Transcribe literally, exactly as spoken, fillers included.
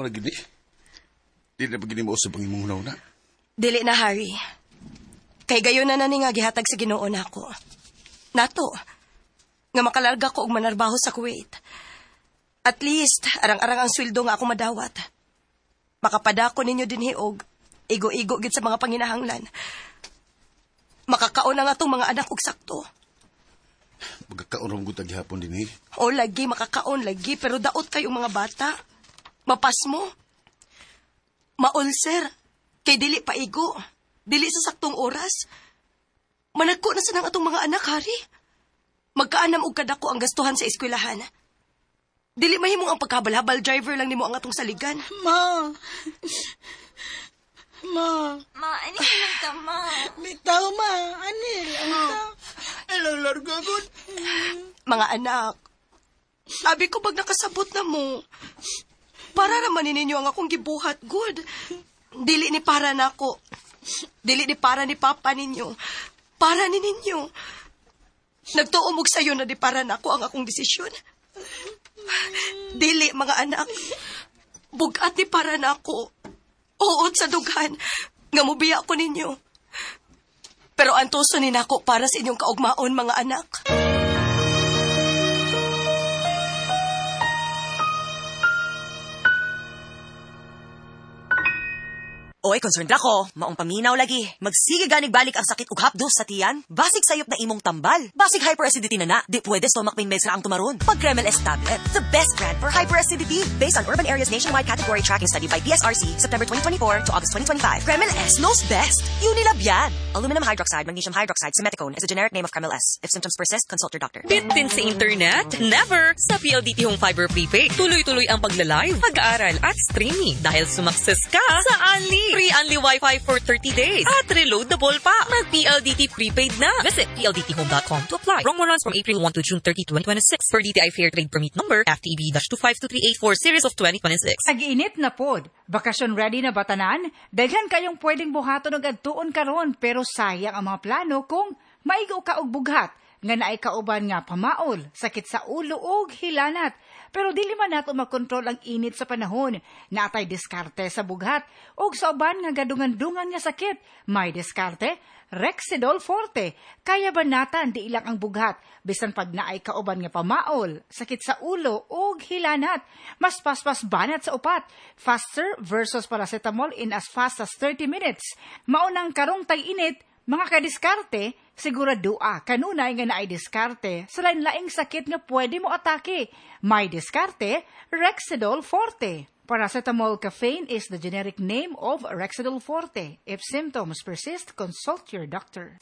Mao na gini. Di na ba gini mausab ang imong hunahuna? Dili na, Harry. Kay gayon na na ni nga gihatag sa Ginoo nako. Nato, nga makalarga ko og manarbaho sa Kuwait. At least, arang-arang ang sweldo nga ako madawat. Makapadako ninyo dinhi og igo-igo gid sa mga panginahanglan. Makakaon ang atong mga anak og sakto. Magkakaon ra gud gihapon dinhi. O lagi, makakaon lagi, pero daot kayong mga bata. Mapasmo. Maulser. Kay dili pa igo. Dili sa saktong oras. Managko na sa nang atong mga anak, Harry. Magkaanam og kadako ang gastuhan sa eskwelahan. Dili mahimong ang pagkabalhabal driver lang nimo ang atong saligan. Ma. Ma. Ma, ani lang ta, ma. Bitaw, ma. Ani lang ta. Hello, larga gud. Mga anak, sabi ko pag nakasabot na mo, para naman ninyo ang akong gibuhat, good. Dili ni para nako. Dili ni para ni papa ninyo. Para ni ninyo. Nagtuo mog sayo na di para nako ang akong desisyon. Dili, mga anak. Bugat ni para nako. Uot sa dughan. Nga mubiya ko ninyo. Pero antuso ni nako para sa inyong kaugmaon, mga anak. Oy, concerned ako. Maong paminaw lagi. Magsige ganig balik ang sakit ug hapdos sa tiyan. Basig sayop na imong tambal. Basig hyperacidity na na. Di pwede stomach pain meds ra ang tumaron. Pag Kremil S tablet, the best brand for hyperacidity. Based on Urban Areas Nationwide Category Tracking Study by P S R C, September twenty twenty-four to August twenty twenty-five. Kremil S knows best. Unilab yan. Aluminum hydroxide, magnesium hydroxide, simeticone is a generic name of Kremil S. If symptoms persist, consult your doctor. Bitin sa internet? Never! Sa P L D T Home Fiber Prepaid, tuloy-tuloy ang pagla-live, pag-aaral at streaming dahil sumakses ka sa Unli. Free Unli Wi-Fi for thirty days at reloadable pa. Mag-P L D T prepaid na. Visit P L D T home dot com to apply. Promo runs from April first to June thirtieth, twenty twenty-six for D T I Fair Trade Permit number F T E B dash two five two three eight four series of twenty twenty-six. Nag-init na pod. Bakasyon ready na batanan? Daghan kayong pwedeng buhaton og adtuon karon pero sayang ang mga plano kung maigo ka og bughat nga naay kauban nga pamaol, sakit sa ulo ug hilanat. Pero dili man nato makontrol ang init sa panahon. Naatay diskarte sa bughat ug sa uban nga gadungan-dungan nga sakit. May diskarte, Rexidol Forte. Kaya ba natan di ilang ang bughat bisan pag naay kauban nga pamaol, sakit sa ulo ug hilanat. Mas paspas banat sa upat. Faster versus paracetamol in as fast as thirty minutes. Maunang karong tag-init, mga kadiskarte, siguradoa kanunay nga naay diskarte sa lain-laing sakit nga pwede mo atake. May diskarte, Rexidol Forte. Paracetamol caffeine is the generic name of Rexidol Forte. If symptoms persist, consult your doctor.